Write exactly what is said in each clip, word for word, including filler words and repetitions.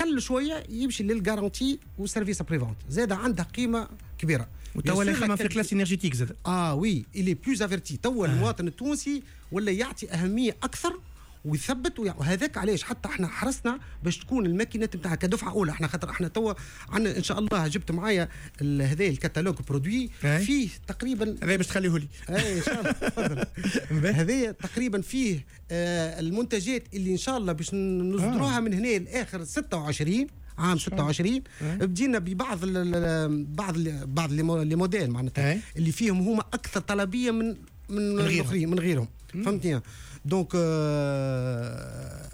اقل شوية يمشي لل garantie و service après-vente، زاد عندها قيمة كبيره. وتوا يخمم في classe énergétique زاد. اه oui، il est plus averti. توا آه. المواطن التونسي ولا يعطي اهمية اكثر ويثبت، وهذاك علاش حتى احنا حرصنا باش تكون الماكينات نتاعها كدفعه اولى. احنا خاطر احنا توا عندنا ان شاء الله، جبت معايا هذا ال catalogue produits فيه تقريبا. هذا باش تخليه لي. اي ان شاء الله، تفضل. هذا تقريبا فيه آه المنتجات اللي ان شاء الله باش نصدروها آه. من هنا لاخر ستة وعشرين، عام ستة وعشرين. بدينا ببعض ال بعض ال بعض les modèles معناتها اللي فيهم هما اكثر طلبية من من الاخرين، من غيرهم، فهمتني؟ donc آه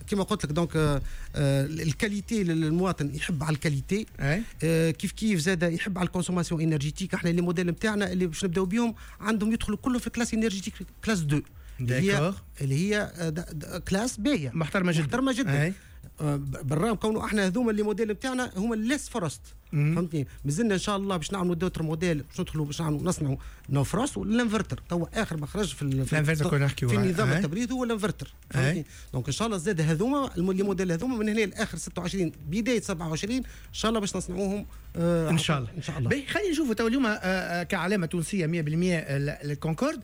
كما قلت لك، donc آه ال qualité، المواطن يحب على ال qualité، آه كيف كيف زاد يحب على ال consommation énergétique. احنا les modèles نتاعنا اللي باش نبداو بهم عندهم يدخلوا كلهم في classe énergétique classe deux، اللي هي اللي هي classe باهيه. محترمه جدا. محترمه جدا، بالرغم كونه احنا هذوما les modèles نتاعنا هما less frost، فهمتني؟ مازلنا ان شاء الله باش نعملوا d'autres modèles، باش ندخلوا باش نعملوا نصنعوا no frost وال inverter. توا اخر ما خرج في في, في نظام التبريد هو الانفرتر، فهمتني؟ donc ان شاء الله زاد هذوما les modèles هذوما من هنا لاخر ستة وعشرين، بداية سبعة وعشرين ان شاء الله باش نصنعوهم. آه ان شاء الله. ان شاء الله. خلينا نشوفوا تو اليوم آه، آه، كعلامة تونسية مية في المية ال Concorde،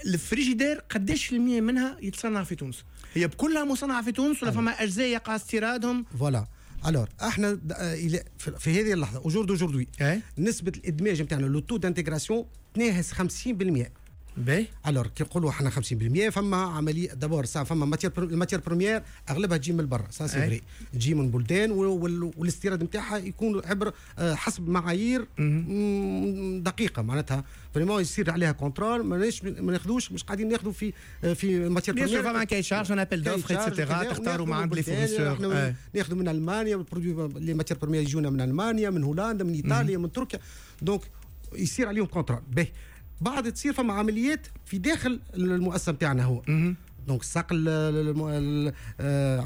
ال frigidaire قداش في المية منها يتصنع في تونس؟ هي بكلها مصنعه في تونس ولا فما اجزاء يقع استيرادهم؟ voilà، alors احنا في هذه اللحظه، au jour d'aujourd'hui، نسبه الادماج نتاعنا، le taux d'intégration، تناهز خمسين في المية. باهي. alors كي نقولوا احنا خمسين في المية، فما عملية d'abord ça فما matière، ال matière première اغلبها تجي من برا، ça c'est vrai، تجي من بلدان والاستيراد نتاعها يكون عبر آه، حسب معايير دقيقه، معناتها vraiment يصير عليها contrôle. ماناش ما ناخذوش، مش قاعدين ناخذوا في آه، في matière première. فما cahier des charges، un appel d'offres et cetera، تختاروا مع عند les fournisseurs. ناخذوا من المانيا produits، les matières premières يجونا من المانيا، من هولندا، من ايطاليا، من تركيا، donc يصير عليهم contrôle. باهي، بعد تصير فما عمليات في داخل المؤسسة نتاعنا هو، donc ساق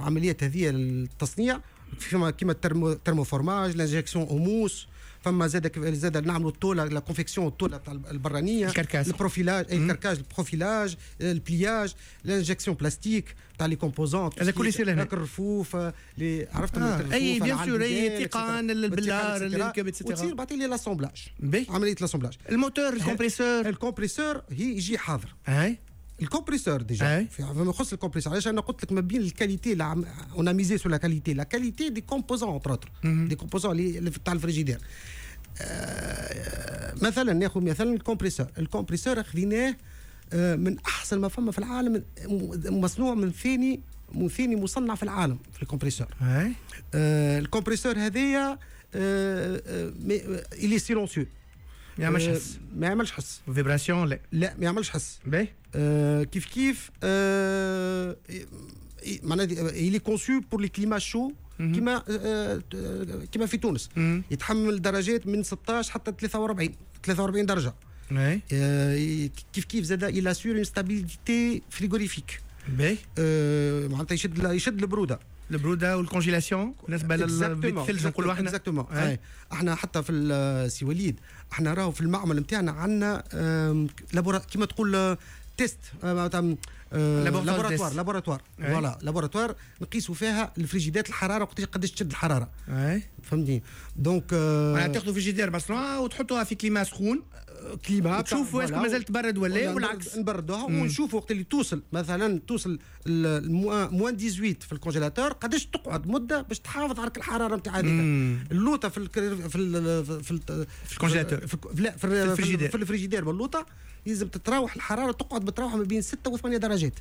عمليات هذه التصنيع فيما كيما ال thermoformage، l'injection en mousse، فما زاد زاد نعملوا الطوله، la confection، الطولة تاع البرانيه. ال carcasse. ال profilage، ال carquage، ال profilage، ال pliage، l'injection plastique تاع les composants. هذا كل يصير هنا. الرفوف اللي عرفت. آه. اي bien sûr، اي تيقان البلار اللي وتصير بعد لي l'assemblage، عملية l'assemblage. ال moteur، ال compresseur. ال compresseur هي يجي حاضر. اي. ال compresseur déjà، فيما يخص ال compresseur، علاش انا قلت لك ما بين ال qualité، on a misé sur la qualité، la qualité des composants، entre autres des composants اللي تاع الفريجيدير. آه، مثلا ناخذ مثلا ال compresseur، ال compresseur خذيناه آه، من احسن ما فما في العالم، مصنوع من ثاني من ثاني مصنع في العالم في ال compresseur. آه ال compresseur هذايا il est silencieux. ما يعملش حس. ما يعملش حس. vibration لا. لا، ما يعملش حس. باهي. آه كيف كيف آه معناها il est conçu pour les climats chauds، كيما آه كيما في تونس يتحمل درجات من ستاش حتى ثلاثة وأربعين ثلاثة وأربعين درجه. آه كيف كيف زاد il assure une stabilité frigorifique. باهي. آه معناتها يشد يشد البروده. البرودة وال congélation بالنسبة للثلج نقولوا احنا. exactement. احنا حتى في سي وليد، احنا راهو في المعمل نتاعنا عندنا كيما تقول test laboratoire laboratoire voilà، laboratoire نقيسوا فيها الفريجيدات، الحراره، وقتاش قداش تشد الحراره. اي. فهمتني؟ donc معناها تاخذوا فريجيدير مصنوعة وتحطوها في climat سخون. climat. تشوفوا est-ce que مازال تبرد ولا والعكس. نبردوها ونشوفوا وقت اللي توصل مثلا توصل moins ثمنطاش في ال congélateur، قداش تقعد مده باش تحافظ على الحرارة نتاع هذيك اللوطه في ال في ال في ال في ال congélateur. في لا، في الفريجيدير. في الفريجيدير باللوطه لازم تتراوح الحراره، تقعد بتراوح ما بين ستة و ثمانية درجات.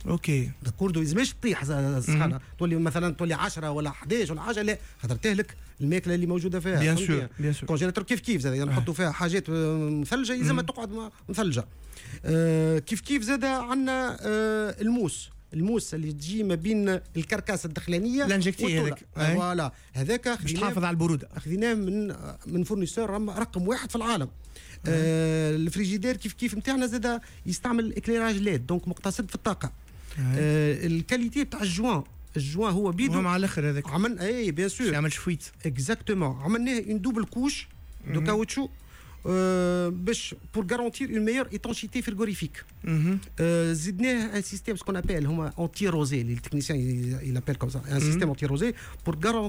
OK. d'accord، لازمش تطيح السخانه، تولي مثلا تولي عشرة ولا حداش ولا حاجه، لا، خاطر تهلك الماكلة اللي موجودة فيها. bien sûr، bien sûr. congélateur كيف كيف زاد نحطوا فيها حاجات مثلجه، لازم تقعد مثلجه. آه كيف كيف زاد عندنا آه ال mousse ال mousse اللي تجي ما بين ال carcasse الدخلانيه. l'injectée هذاك. voilà، هذاك. باش تحافظ على البروده. خذيناه من من fournisseur رقم واحد في العالم. آه الفريجيدير كيف كيف نتاعنا زاد يستعمل éclairage LED، donc مقتصد في الطاقه. آه ال qualité تاع ال joint، ال joint هو بيدو. مع الاخر هذاك. عملنا، اي bien sûr. يعملش fuite. exactement، عملناه une double couche de caoutchouc باش pour garantir une meilleure étanchéité frigorifique. زدناه un système ce qu'on appelle هما anti-rosée، les techniciens ils appellent comme ça، un système anti-rosée pour